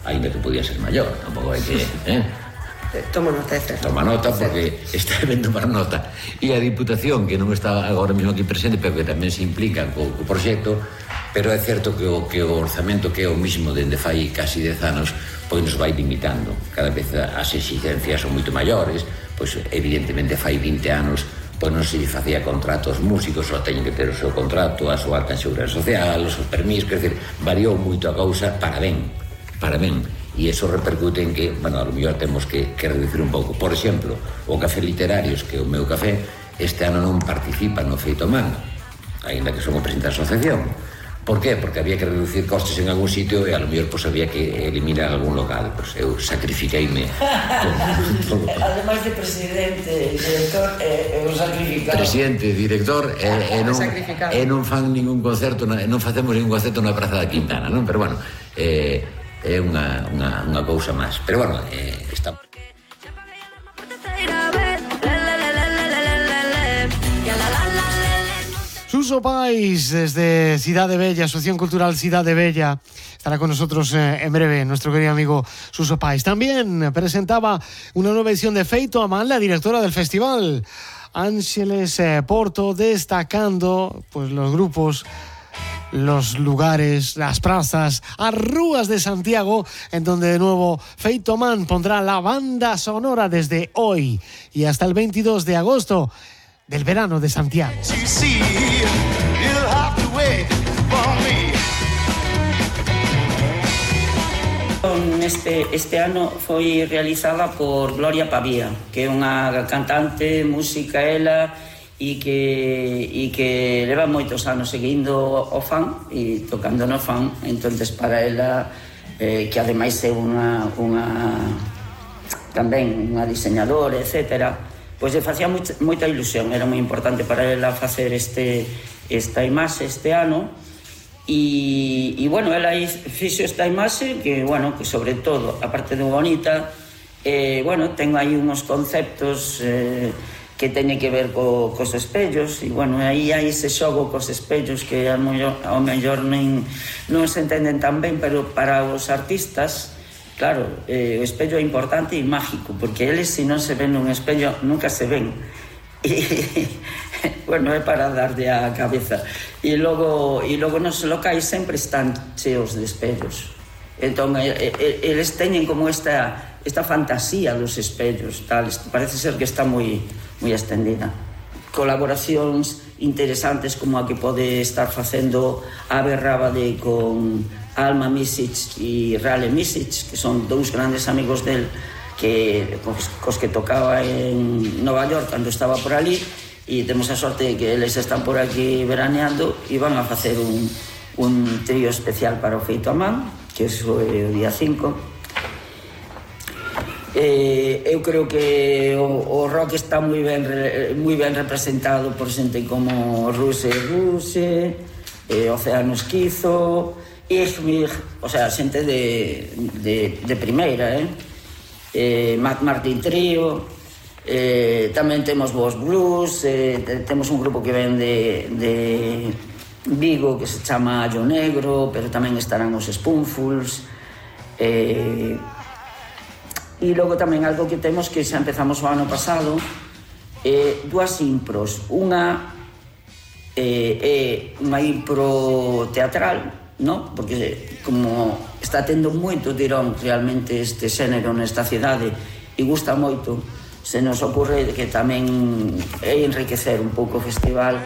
ainda que podía ser maior, tampouco hai que... Toma nota, César. Toma nota, porque está ben tomar nota. E a Diputación, que non está agora mesmo aquí presente, pero que tamén se implica co proxecto, pero é certo que o orzamento, que é o mismo dende fai casi 10 anos, pois nos vai limitando. Cada vez as exigencias son moito maiores, pois evidentemente fai 20 anos pois non se facía contrato aos músicos, só teñen que ter o seu contrato, a súa alta en seguridade social, os seus permisos, quer dizer, variou moito a cousa para ben. E iso repercute en que, bueno, a lo mellor temos que reducir un pouco. Por exemplo, o Café Literarios, que é o meu café, este ano non participa no Feito Man, aínda que son o presidente da asociación. Por qué? Porque había que reducir costes en algún sitio e a lo mellor pues, había que eliminar algún local. Pues eu sacrifiqueime. Ademais de presidente, director, eu sacrificado. Presidente, director, e non fan ningún concerto, non facemos ningún concerto na Praza da Quintana, non? Pero bueno, é unha cousa máis. Pero bueno, está... Suso Pais, desde Cidade Bella, Asociación Cultural Cidade Bella, estará con nosotros en breve, nuestro querido amigo Suso Pais. También presentaba una nueva edición de Feito a Man, la directora del festival, Ángeles Porto, destacando pues los grupos, los lugares, las plazas, as rúas de Santiago, en donde de nuevo Feito a Man pondrá la banda sonora desde hoy y hasta el 22 de agosto del verano de Santiago. Este ano foi realizada por Gloria Pavía, que é unha cantante, música ela, e que leva moitos anos seguindo o fan e tocando no fan. Entonces para ela, que ademais é tamén unha diseñadora, etcétera, pois lle facía moita ilusión, era moi importante para ela facer esta imaxe este ano. E bueno, ela fixo esta imaxe que, bueno, que sobre todo, aparte de bonita, bueno, ten aí uns conceptos que teñen que ver cos espellos, e bueno, aí hai ese xogo cos espellos que ao mellor non se entenden tan ben, pero para os artistas, claro, o espello é importante e mágico, porque eles, se non se ven nun espello, nunca se ven. Bueno, é para darlle a cabeza. E logo nos locais sempre están cheos de espellos. Entón, eles teñen como esta fantasía dos espellos, tal. Parece ser que está moi extendida. Colaboracións interesantes como a que pode estar facendo Ave Rábade con Alma Misic e Rale Misic, que son dous grandes amigos del, que cos que tocaba en Nova York cando estaba por ali, e temos a sorte de que eles están por aquí veraneando e van a facer un trío especial para o Feito a Man, que é o día 5. Eu creo que o rock está moi ben representado por xente como Ruse, Océano Esquizo, Igmig, o sea, xente de primeira, Matt Martin Trío, tamén temos Boss Blues, temos un grupo que ven de Vigo que se chama Allo Negro, pero tamén estarán os Spoonfuls, e logo tamén algo que temos que xa empezamos o ano pasado, dúas impros, unha é unha impro teatral, no? Porque como está tendo moito tirón realmente este xénero nesta cidade e gusta moito, se nos ocurre que tamén é enriquecer un pouco o festival.